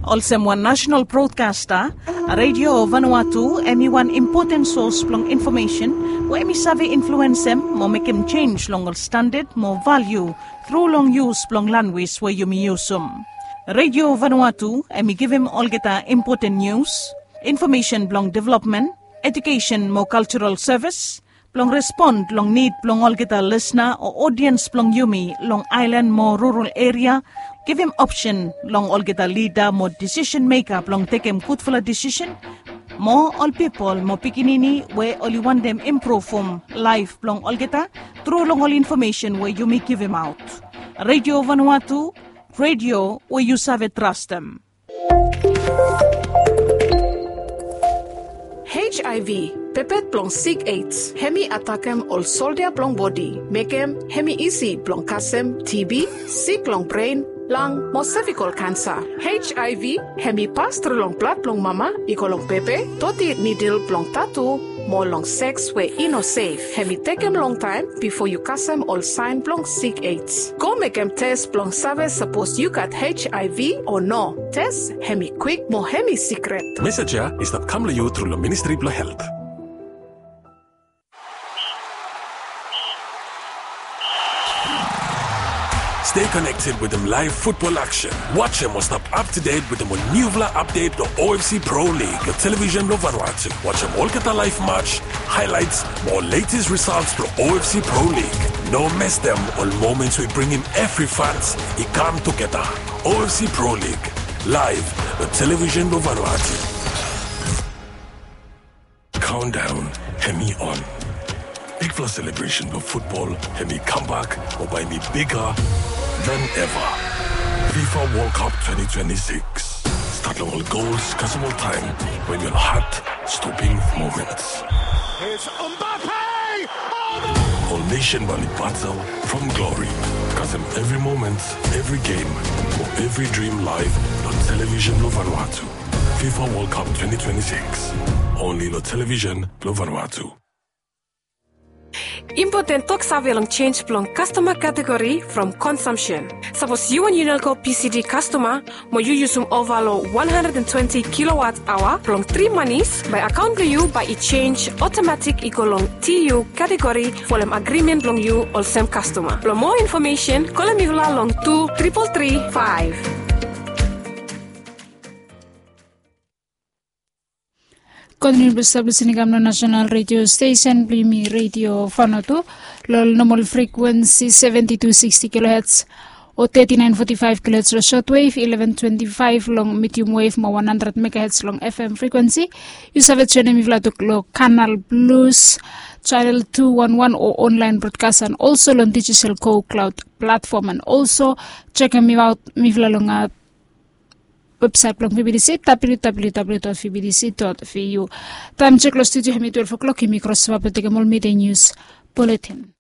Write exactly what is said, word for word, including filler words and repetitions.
Olsem wan nasenal brodkasta, Radio Vanuatu hem i wan impoten sos blong infomesen we hem i save influensem mo mekem jenis long ol standad mo valiu tru long yus blong lanwis we yumi yusum. Radio Vanuatu hem i givim olgeta impoten nius, infomesen blong developmen, ejukesen mo kaljaral sevis, blong respon long nid blong olgeta lisna o odiens blong yumi long aelan mo rural eria, givim opsen long olgeta lida mo disisen meka blong tekem gudfala disisen, mo ol pipol mo pikinini we oli wantem impruvum laef blong olgeta tru long ol infomesen we yumi givimaot. Radio Vanuatu, radio we yu save trastem. H I V, pepet blong sik AIDS, hem i atakem ol soldia blong bodi, mekem hem i isi blong kasem T B, sik long bren, lang mo sevikol kansa. H I V hem i pas tru long blad blong mama i go long pepe, doti nidel blong tatu, mo long seks we i no sef. Hem i tekem longtaem bifo yu kasem ol saen blong sik AIDS. Go mekem tes blong save sapos yu gat H I V o no. Tes hem i kwik mo hem i sikret. Mesej ya i stap kam long yu tru long Ministri blong Helt. Stay connected wetem laev futbol aksen. Wajem o stap aptudet wetem ol niufala apdet blong O F C Pro League long television blong Vanuatu. Wajem olgeta laev match, haelaets mo ol letes risals blong O F C Pro League. No mestem ol moments we i bringim evri fans i kam tugeta. O F C Pro League, laev long television blong Vanuatu. Countdown hem i on. Bigfala selebresen blong futbol hem i kambak mo bae hem i biga than eva. FIFA World Cup twenty twenty-six. Stat long ol gols kasem oltaem, we hem i ol hat stoping moments. It's Mbappe! Oh, no! Ol nesen bae oli batel from glory. Kasem evri moment, evri gem mo evri drim laev long television blong Vanuatu. FIFA World Cup twenty twenty-six. Only long television blong Vanuatu. Impoten toksave long jenj blong kastoma kategori from konsumsen. Sapos yu wan Unelco P C D kastoma mo yu yusum ova long wan handred and twenti kilowatt aoa blong tri manis, bae akaon blong yu bae i jenj otomatik i go long T U kategori folem agrimen blong yu olsem kastoma. Blong moa infomesen, kolem mifala long tu tripol tri faev. Kontiniu blong stap lisin i kam long nasenal redio stesen blong yumi, Redio Vanuatu, long ol nomol frikwensi seventi tu siksti kiloherts o teti naen foti faev kiloherts long sotwev, ileven twenti faev long medium wave mo wan handred megaherts long F M frikwensi. Yu save joenem mifala tu long Kanal Plus, chanel tu wan wan o onlaen brodkas, and also long Digicel Go Cloud platform, and also jekem aot mifala long websaet blong V B T C, W W W dot V B T C dot V U. Taem jek long studio hem i twelve o'clock, yumi krosova blong tekem ol midei nius buletin.